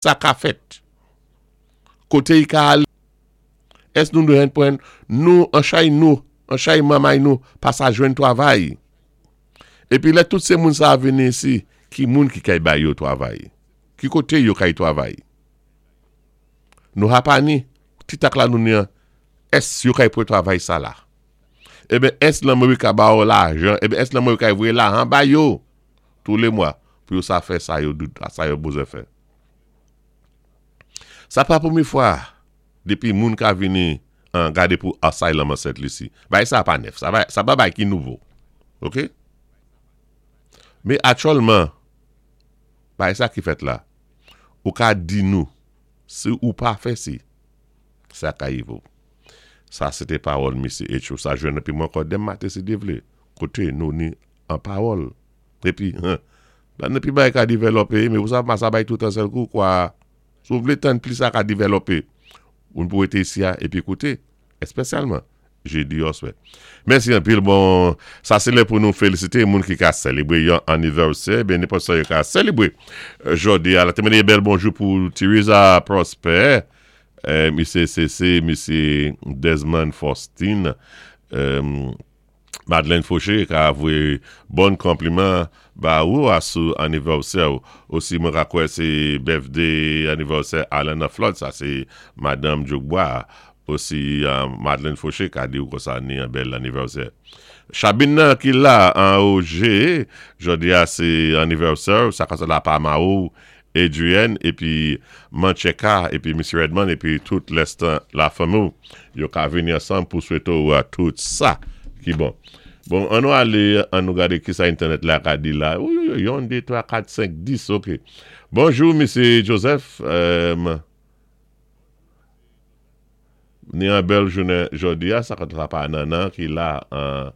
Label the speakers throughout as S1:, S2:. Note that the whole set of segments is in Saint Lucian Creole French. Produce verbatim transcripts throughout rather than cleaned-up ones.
S1: Sa ka fèt? Koté i ka alé? Ès nou dwé pwan nou an chay nou, an chay manmay nou pa sa jwenn twavay? Épi lè tout sé moun sa vini isi, ki moun ki kay bay yo twavay? Ki koté yo kay twavay? Nou ha pa ni, ti tak la nou ni an, ès yo kay pwan twavay sa la? Eben ès Lanmérik ka ba yo lajan, eben ès Lanmérik kay voyé lajan ba yo tou lé mwa pou yo sa fè sa yo sa yo bezwen fè. Sa pa pwémyé fwa dépi moun ka vini an gadé pou asylum an Sent Lisi. Bay sa pa nèf, sa, sa pa bay ki nouvo. OK? Mé aktyèlman, bay sa ki fèt la, ou ka di nou, si ou pa fè si, sa ka yivo. Sa sé té pawòl Misye H. Ou sa jwenn épi mwen ankò denmen maten si Dye vlé. Koté nou ni an pawòl. Épi, la épi bay ka dévelopé, mé ou sav sa bay tout an sèl kou kwa. Si ou vlé tann plis sa ka dévelopé. Ou pou été isi a, épi kouté, espesyalman, jédi oswè. Mèsi anpil, bon, sa sé lè pou nou félisité moun ki ka sélébré yon anivèsè, ben nenpòt sa yo ka sélébré. Jòdi a, la té mandé bèl bonjou pou Teresa Prosper, euh, Misye C C, Misye Desmond Faustin, euh, Madeleine Fauché ka voyé bon konpliman ba ou a sou anivèsè ou. Osi mwen ka kwè sé birthday anivèsè Alan Flood, sa sé Madame Djogbois. Osi euh, Madeleine Fauché ka di ou konsa ni yon bèl anivèsè. Chabine nan ki la an O G, jòdi a sé anivèsè, sa ka la pa ma ou, Adrienne, épi Mancheka, épi Misye Redmond, épi tout lèstan la fanmi, yo ka vini ansanm pou swété ou a tout sa ki bon. Bon, an nou alé, an nou gadé ki sa entènèt la ka di la. Wi, wi, wi, en, dé, twa, kat, senk, dis, OK. Bonjou, Misye Joseph. Euh, ni yon bèl jounen jòdi a, sa ka pa nanan ki la an,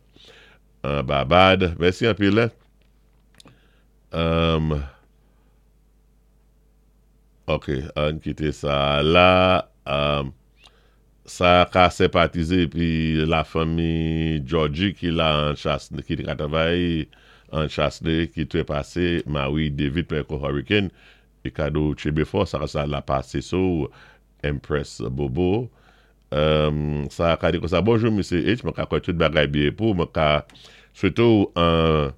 S1: an Barbad. Mèsi anpil. Um, ok, an kité sa la. Um, sa ka senpatizé épi la fanmi Georgie ki la an Chas, ki ka travay an Chasle, ki trépasé Marie David Perko Hurricane et kado Chebefort, sa sa la pasé sou Empress Bobo. Um, sa ka di konsa, bonjou Misye H, mwen ka kwè tout bagay byen pou, mwen ka swété ou an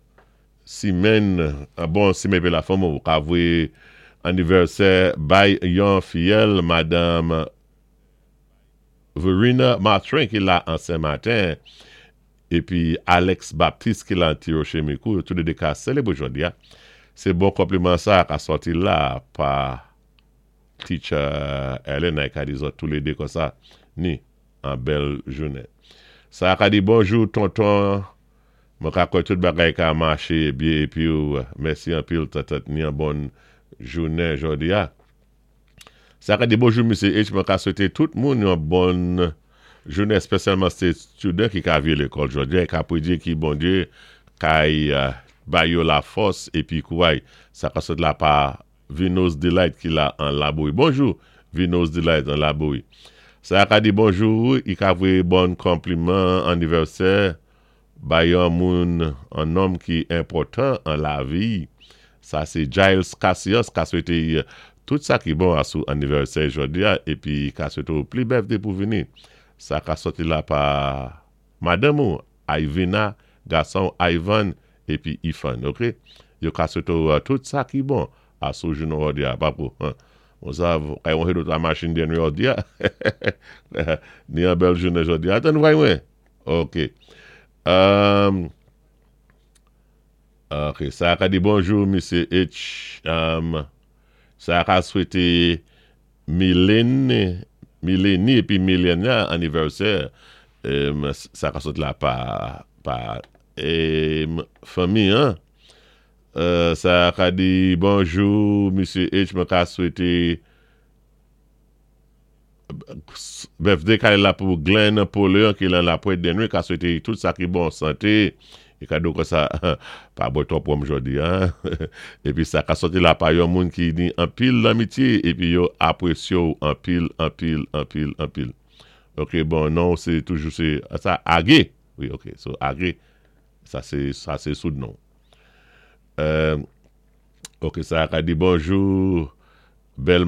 S1: simèn, an bon simèn pou la fanmi, ou ka voyé anivèsè bay yon fiyèl Madame Verena Martin ki la an Saint-Martin, épi Alex Baptiste ki la an Tiroche-Mikou, tou lé dé ka sélébré jòdi a. Sé bon konpliman sa ka sòti la pa Teacher Ellen ka di zòt tou lé dé konsa, ni an bèl jounen. Sa ka di bonjou tonton, mwen ka kwè tout bagay ka maché byen épi ou, mèsi anpil tatat ni an bon jounen jòdi a. Sa ka di bonjou Misye H, mwen ka swété tout moun yon bon jounen, espesyalman sé student ki ka viré lékòl jòdi a, ka pwédyé ki Bondyé kay uh, bay yo la fòs épi kouray. Sa ka sot la pa Vino's Delight ki la an Laboui. Bonjou Vino's Delight an Laboui. Sa ka di bonjou, i ka voyé bon konpliman anivèsè bay yon moun, an nonm ki enpòtan an lavi. Sa sé Giles Cassius ka swété tout sa ki bon a sou anivèsè jòdi a épi ka swété ou pli birthday pou vini. Sa ka sòti la pa madanm ou Ivina, gason Ivan épi Ifan, OK? Yo ka swété ou tout sa ki bon a sou jounen jòdi a, papou. On sav, kay wè dot la machin den jòdi a. Ni an bèl jounen jòdi a. Atan vay mwen. OK. Um, ok, sa ka di bonjou, Misye H. Um, sa ka swété Milene, Mileni épi Milena anivèsè. Um, sa ka sot la pa, pa um, fanmi, hein? Euh, sa ka di bonjou, Misye H, mwen ka swété birthday ka la pou Glenn Pauleon ki lan la Pointe d'Henry, ka swété tout sa ki bon santé, é kado konsa, pa bwè twòp wonm jòdi a. Épi sa ka sòti la pa yon moun ki ni anpil lanmityé, épi yo apwésyé ou anpil, anpil, anpil, anpil. OK, bon, non, sé toujou sé, sa, Agé. Wi, OK, so Agé, sa sé, sa sé sou non. Euh, OK, sa ka di bonjou, Bèl.